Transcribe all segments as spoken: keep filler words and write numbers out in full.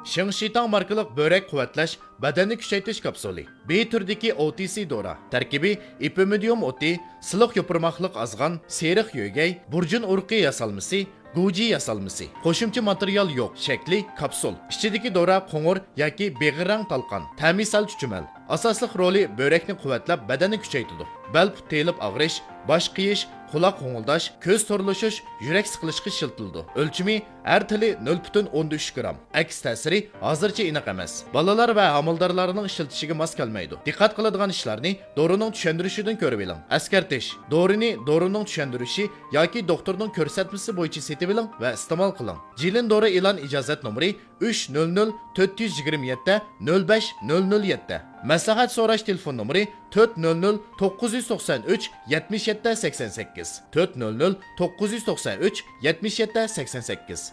شىڭ شىتاڭ ماركىلىق بۆرەك قۇۋۋەتلەش، بەدەننى كۈچەيتىش كاپسۇلى. بى تۈرىدىكى ئو تى سى دورا. تەركىبى ئېپىمىدىيۇم ئوتى، سىلىق يوپۇرماقلىق ئازغان، سېرىق يۆگەي، بۇرجۇن ئۇرۇقى ياسالمىسى، گۇجى ياسالمىسى. قوشۇمچە ماتېرىيال يوق. شەكلى كاپسۇل. ئىچىدىكى دورا قوڭۇر ياكى بېغىر رەڭ تالقان. تەمى سەل چۈچۈمەل. ئاساسلىق رولى بۆرەكنى قۇۋۋەتلەپ، بەدەننى كۈچەيتىدۇ. بەل پۇت تېيىلىپ ئاغرىش، باش قېيىش، قۇلاق غوڭۇلداش، كۆز تورلىشىش، يۈرەك سىقىلىشقا ئىشلىتىلىدۇ. ئۆلچىمى: ھەر تىلى نۆل پۈتۈن ئوندىن ئۈچ گرام. ئەكس تەسىرى ھازىرچە ئېنىق ئەمەس. بالىلار ۋە ھامىلىدارلارنىڭ ئىشلىتىشىگە ماس كەلمەيدۇ. دىققەت قىلىدىغان ئىشلارنى دورىنىڭ چۈشەندۈرۈشىدىن كۆرۈۋېلىڭ. ئەسكەرتىش: دورىنى دورىنىڭ چۈشەندۈرۈشى ياكى دوختۇرنىڭ كۆرسەتمىسى بويىچە سېتىۋېلىڭ ۋە ئىستېمال قىلىڭ. جىلىن دورا ئېلان ئىجازەت نومۇرى ئۈچ نۆل نۆل تۆت يۈز يىگىرمە يەتتە نۆل بەش نۆل نۆل يەتتە. مەسلىھەت سوراش تېلېفون نومۇرى تۆت نۆل نۆل توققۇز يۈز توقسان ئۈچ يەتمىش يەتتە سەكسەن سەككىز، تۆت نۆل نۆل توققۇز يۈز توقسان ئۈچ يەتمىش يەتتە سەكسەن سەككىز.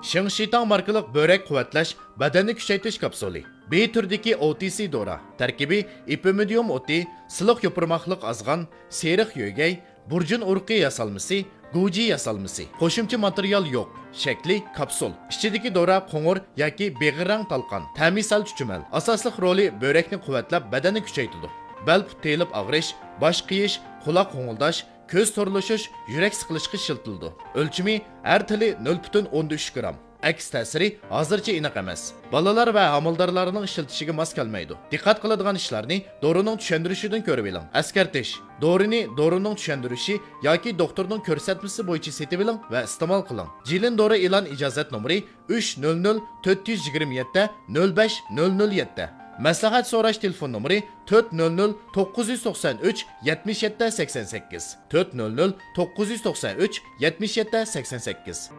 شىڭ شىتاڭ ماركىلىق بۆرەك قۇۋۋەتلەش، بەدەننى كۈچەيتىش كاپسۇلى. بى تۈرىدىكى ئو تى سى دورا. تەركىبى ئېپىمىدىيۇم ئوتى، سىلىق يوپۇرماقلىق ئازغان، سېرىق يۆگەي، بۇرجۇن ئۇرۇقى ياسالمىسى، گۇجى ياسالمىسى. قوشۇمچە ماتېرىيال يوق. شەكلى كاپسۇل. ئىچىدىكى دورا قوڭۇر ياكى بېغىر رەڭ تالقان. تەمى سەل چۈچۈمەل. ئاساسلىق رولى بۆرەكنى قۇۋۋەتلەپ، بەدەننى كۈچەيتىدۇ. بەل پۇت تېيىلىپ ئاغرىش، باش قېيىش، قۇلاق غوڭۇلداش، كۆز تورلىشىش، يۈرەك سىقىلىشقا ئىشلىتىلىدۇ. ئۆلچىمى: ھەر تىلى نۆل پۈتۈن ئوندىن ئۈچ گرام. ئەكس تەسىرى ھازىرچە ئېنىق ئەمەس. بالىلار ۋە ھامىلىدارلارنىڭ ئىشلىتىشىگە ماس كەلمەيدۇ. دىققەت قىلىدىغان ئىشلارنى دورىنىڭ چۈشەندۈرۈشىدىن كۆرۈۋېلىڭ. ئەسكەرتىش: دورىنى دورىنىڭ چۈشەندۈرۈشى ياكى دوختۇرنىڭ كۆرسەتمىسى بويىچە سېتىۋېلىڭ ۋە ئىستېمال قىلىڭ. جىلىن دورا ئېلان ئىجازەت نومۇرى ئۈچ نۆل نۆل تۆت يۈز يىگىرمە يەتتە نۆل بەش نۆل نۆل يەتتە. مەسلىھەت سوراش تېلېفون نومۇرى تۆت نۆل نۆل توققۇز يۈز توقسان ئۈچ يەتمىش يەتتە سەكسەن سەككىز، تۆت نۆل نۆل توققۇز يۈز توقسان ئۈچ يەتمىش يەتتە سەكسەن سەككىز.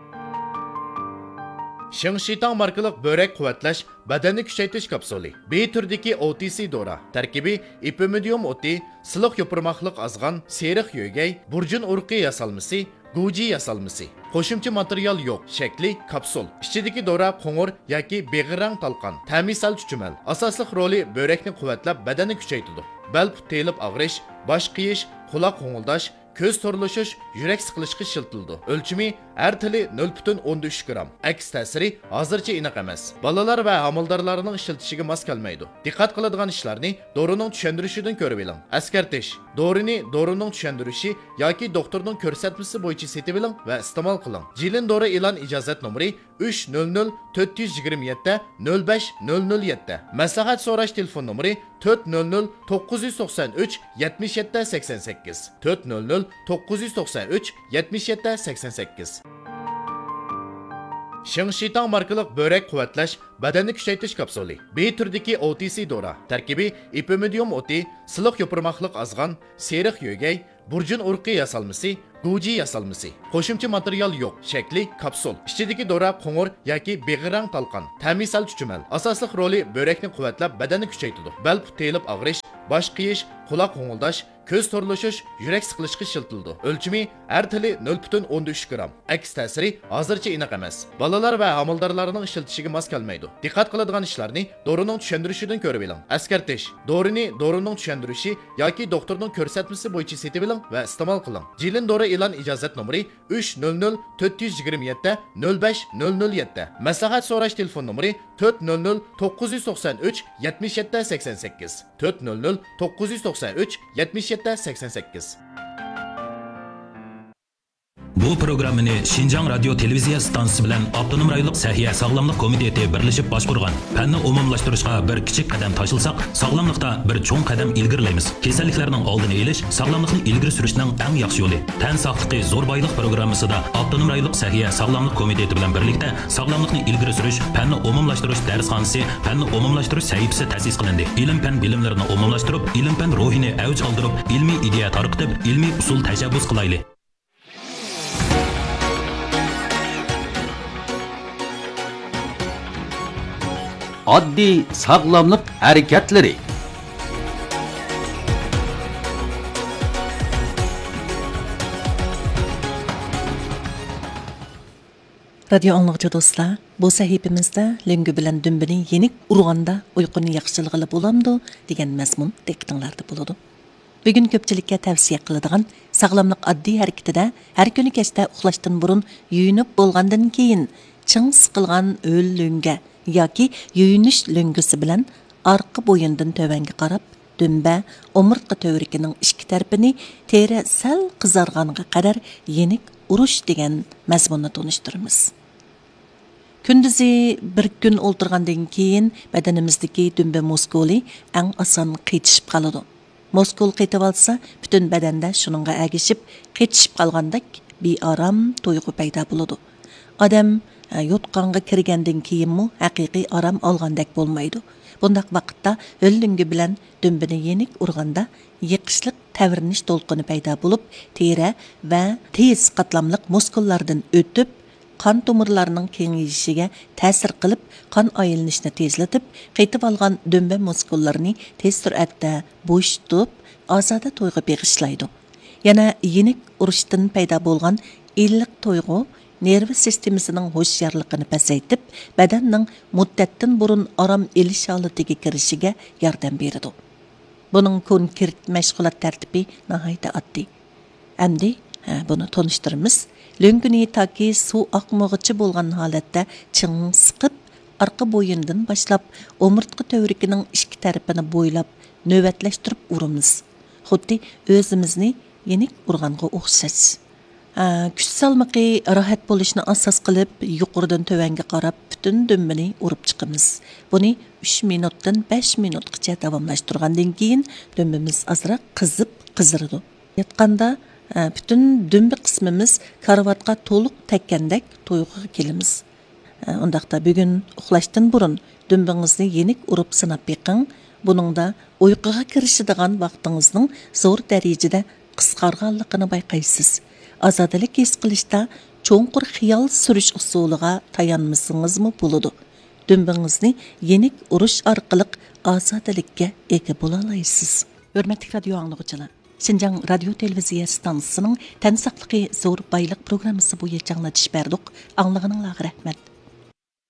شىڭ شىتاڭ ماركىلىق بۆرەك قۇۋۋەتلەش، بەدەننى كۈچەيتىش كاپسۇلى. بى تۈرىدىكى ئو تى سى دورا. تەركىبى ئېپىمىدىيۇم ئوتى، سىلىق يوپۇرماقلىق ئازغان، سېرىق يۆگەي، بۇرجۇن ئۇرۇقى ياسالمىسى، گۇجى ياسالمىسى. قوشۇمچە ماتېرىيال يوق. شەكلى كاپسۇل. ئىچىدىكى دورا قوڭۇر ياكى بېغىر رەڭ تالقان. تەمى سەل چۈچۈمەل. ئاساسلىق رولى بۆرەكنى قۇۋۋەتلەپ، بەدەننى كۈچەيتىدۇ. بەل پۇت تېيىلىپ ئاغرىش، باش قېيىش، قۇلاق غوڭۇلداش، كۆز تورلىشىش، يۈرەك سىقىلىشقا ئىشلىتىلىدۇ. ئۆلچىمى: ھەر تىلى نۆل پۈتۈن ئوندىن ئۈچ گرام. ئەكس تەسىرى ھازىرچە ئېنىق ئەمەس. بالىلار ۋە ھامىلىدارلارنىڭ ئىشلىتىشىگە ماس كەلمەيدۇ. دىققەت قىلىدىغان ئىشلارنى دورىنىڭ چۈشەندۈرۈشىدىن كۆرۈۋېلىڭ. ئەسكەرتىش: دورىنى دورىنىڭ چۈشەندۈرۈشى ياكى دوختۇرنىڭ كۆرسەتمىسى بويىچە سېتىۋېلىڭ ۋە ئىستېمال قىلىڭ. جىلىن دورا ئېلان ئىجازەت نومۇرى ئۈچ نۆل نۆل تۆت يۈز يىگىرمە يەتتە نۆل بەش نۆل نۆل يەتتە. مەسلىھەت سوراش تېلېفون نومۇرى تۆت نۆل نۆل توققۇز يۈز توقسان ئۈچ يەتمىش يەتتە سەكسەن سەككىز، تۆت نۆل نۆل توققۇز يۈز توقسان ئۈچ يەتمىش يەتتە سەكسەن سەككىز. شىڭ شىتاڭ ماركىلىق بۆرەك قۇۋۋەتلەش، بەدەننى كۈچەيتىش كاپسۇلى. بى تۈرىدىكى ئو تى سى دورا. تەركىبى ئېپىمىدىيۇم ئوتى، سىلىق يوپۇرماقلىق ئازغان، سېرىق يۆگەي، بۇرجۇن ئۇرۇقى ياسالمىسى، گۇجى ياسالمىسى. قوشۇمچە ماتېرىيال يوق. شەكلى كاپسۇل. ئىچىدىكى دورا قوڭۇر ياكى بېغىر رەڭ تالقان. تەمى سەل چۈچۈمەل. ئاساسلىق رولى بۆرەكنى قۇۋۋەتلەپ، بەدەننى كۈچەيتىدۇ. بەل پۇت تېيىلىپ ئاغرىش، باش قېيىش، قۇلاق غوڭۇلداش، كۆز تورلىشىش، يۈرەك سىقىلىشقا ئىشلىتىلىدۇ. ئۆلچىمى: ھەر تىلى نۆل پۈتۈن ئوندىن ئۈچ گرام. ئەكس تەسىرى ھازىرچە ئېنىق ئەمەس. بالىلار ۋە ھامىلىدارلارنىڭ ئىشلىتىشىگە ماس كەلمەيدۇ. دىققەت قىلىدىغان ئىشلارنى دورىنىڭ چۈشەندۈرۈشىدىن كۆرۈۋېلىڭ. ئەسكەرتىش: دورىنى دورىنىڭ چۈشەندۈرۈشى ياكى دوختۇرنىڭ كۆرسەتمىسى بويىچە سېتىۋېلىڭ ۋە ئىستېمال قىلىڭ. جىلىن دورا ئېلان ئىجازەت نومۇرى ئۈچ نۆل نۆل تۆت يۈز يىگىرمە يەتتە نۆل بەش نۆل نۆل يەتتە. مەسلىھەت سوراش تېلېفون نومۇرى تۆت نۆل نۆل توققۇز يۈز توقسان ئۈچ يەتمىش يەتتە سەكسەن سەككىز، تۆت نۆل نۆل توققۇز يۈز توقسان ئۈچ يەتمىش يەتتە سەكسەن سەككىز. بۇ پروگراممىنى شىنجاڭ رادىيو تېلېۋىزىيە ئىستانسىسى بىلەن ئاپتونوم رايونلۇق سەھىيە ساغلاملىق كومىتېتى بىرلىشىپ باشقۇرغان. پەننى ئومۇملاشتۇرۇشقا بىر كىچىك قەدەم تاشلىساق، ساغلاملىقتا بىر چوڭ قەدەم ئىلگىرىلەيمىز. كېسەللىكلەرنىڭ ئالدىنى ئېلىش، ساغلاملىقنى ئىلگىرى سۈرۈشنىڭ ئەڭ ياخشى يولى. تەن ساقلىقى زور بايلىق پروگراممىسىدا ئاپتونوم رايونلۇق سەھىيە ساغلاملىق كومىتېتى بىلەن بىرلىكتە ساغلاملىقنى ئىلگىرى سۈرۈش، پەننى ئومۇملاشتۇرۇش دەرسخانىسى، پەننى ئومۇملاشتۇرۇش سەھىپىسى تەسىس قىلىندى. ئىلىم-پەن بىلىملىرىنى ئومۇملاشتۇرۇپ، ئىلىم-پەن روھىنى ئەۋج ئالدۇرۇپ، ئىلمىي ئىدىيە تارقىتىپ، ئىلمىي ئۇسۇل تەشەببۇس قىلايلى. ئاددىي ساغلاملىق ھەرىكەتلىرى. رادىيو ئاڭلىغۇچى دوستلار، بۇ سەھىپىمىزدە لۆڭگە بىلەن دۈمبىنى يېنىك ئۇرغاندا ئۇيقۇنى ياخشىلىغىلى بولامدۇ دېگەن مەزمۇن دىققىتىڭلاردا بولىدۇ. بۈگۈن كۆپچىلىككە تەۋسىيە قىلىدىغان ساغلاملىق ئاددىي ھەرىكىتىدە ھەر كۈنى كەچتە ئۇخلاشتىن بۇرۇن يۇيۇنۇپ بولغاندىن كېيىن چىڭ سىقىلغان ھۆل لۆڭگە ياكى يۇيۇنۇش لۆڭگىسى بىلەن ئارقا بويۇندىن تۆۋەنگە قاراپ دۈمبە، ئومۇرتقا تۈۋرۈكىنىڭ ئىككى تەرىپىنى تېرە سەل قىزارغانغا قەدەر يېنىك ئۇرۇش دېگەن مەزمۇننى تونۇشتۇرىمىز. كۈندۈزى بىر كۈن ئولتۇرغاندىن كېيىن، بەدىنىمىزدىكى دۈمبە مۇسكۇلى ئەڭ ئاسان قېتىشىپ قالىدۇ. مۇسكۇل قېتىۋالسا، پۈتۈن بەدەندە شۇنىڭغا ئەگىشىپ قېتىشىپ قالغاندەك بىئارام تۇيغۇ پەيدا بولىدۇ. ئادەم، ئە، يوتقانغا كىرگەندىن كېيىنمۇ ھەقىقىي ئارام ئالغاندەك بولمايدۇ. بۇنداق ۋاقىتتا ھۆل لۆڭگە بىلەن دۈمبىنى يېنىك ئۇرغاندا، يېقىشلىق تەۋرىنىش دولقۇنى پەيدا بولۇپ، تېرە ۋە تېز قاتلاملىق مۇسكۇللاردىن ئۆتۈپ، قان تومۇرلارنىڭ كېڭىيىشىگە تەسىر قىلىپ، قان ئايلىنىشنى تېزلىتىپ، قېتىۋالغان دۈمبە مۇسكۇللىرىنى تېز سۈرئەتتە بوشىتىپ، ئازادە تۇيغۇ بېغىشلايدۇ. يەنە يېنىك ئۇرۇشتىن پەيدا بولغان ئىللىق تۇيغۇ نېرۋا سىستېمىسىنىڭ ھوشيارلىقىنى پەسەيتىپ، بەدەننىڭ مۇددەتتىن بۇرۇن ئارام ئېلىش ھالىتىگە كىرىشىگە ياردەم بېرىدۇ. بۇنىڭ كونكرېت مەشغۇلات تەرتىپى ناھايىتى ئاددىي. ئەمدى، ھە، بۇنى تونۇشتۇرىمىز. لۆڭگىنى تاكى سۇ ئاقمىغۇچە بولغان ھالەتتە چىڭ سىقىپ، ئارقا بويۇندىن باشلاپ ئومۇرتقا تۈۋرۈكىنىڭ ئىككى تەرىپىنى بويلاپ نۆۋەتلەشتۈرۈپ ئۇرىمىز. خۇددى ئۆزىمىزنى يېنىك ئۇرغانغا ئوخشاش. ھە، كۈچ سالمىقى راھەت بولۇشنى ئاساس قىلىپ، يۇقىرىدىن تۆۋەنگە قاراپ پۈتۈن دۈمبىنى ئۇرۇپ چىقىمىز. بۇنى ئۈچ مىنۇتتىن بەش مىنۇتقىچە داۋاملاشتۇرغاندىن كېيىن، دۈمبىمىز ئازراق قىزىپ قىزىرىدۇ. ياتقاندا، ئە، پۈتۈن دۈمبە قىسمىمىز كارىۋاتقا تولۇق تەگكەندەك تۇيغۇغا كېلىمىز. ئە، ئۇنداقتا بۈگۈن ئۇخلاشتىن بۇرۇن دۈمبىڭىزنى يېنىك ئۇرۇپ سىناپ بېقىڭ. بۇنىڭدا ئۇيقۇغا كىرىشىدىغان ۋاقتىڭىزنىڭ زور دەرىجىدە قىسقارغانلىقىنى بايقايسىز. ئازادىلىك ھېس قىلىشتا چوڭقۇر خىيال سۈرۈش ئۇسۇلىغا تايانمىسىڭىزمۇ بولىدۇ. دۈمبىڭىزنى يېنىك ئۇرۇش ئارقىلىق ئازادىلىككە ئىگە بولالايسىز. ھۆرمەتلىك رادىيو ئاڭلىغۇچىلار! شىنجاڭ رادىيو تېلېۋىزىيە ئىستانسىسىنىڭ تەن ساقلىقى زور بايلىق پروگراممىسى بويىچە ئاڭلىتىش بەردۇق. ئاڭلىغىنىڭلارغا رەھمەت.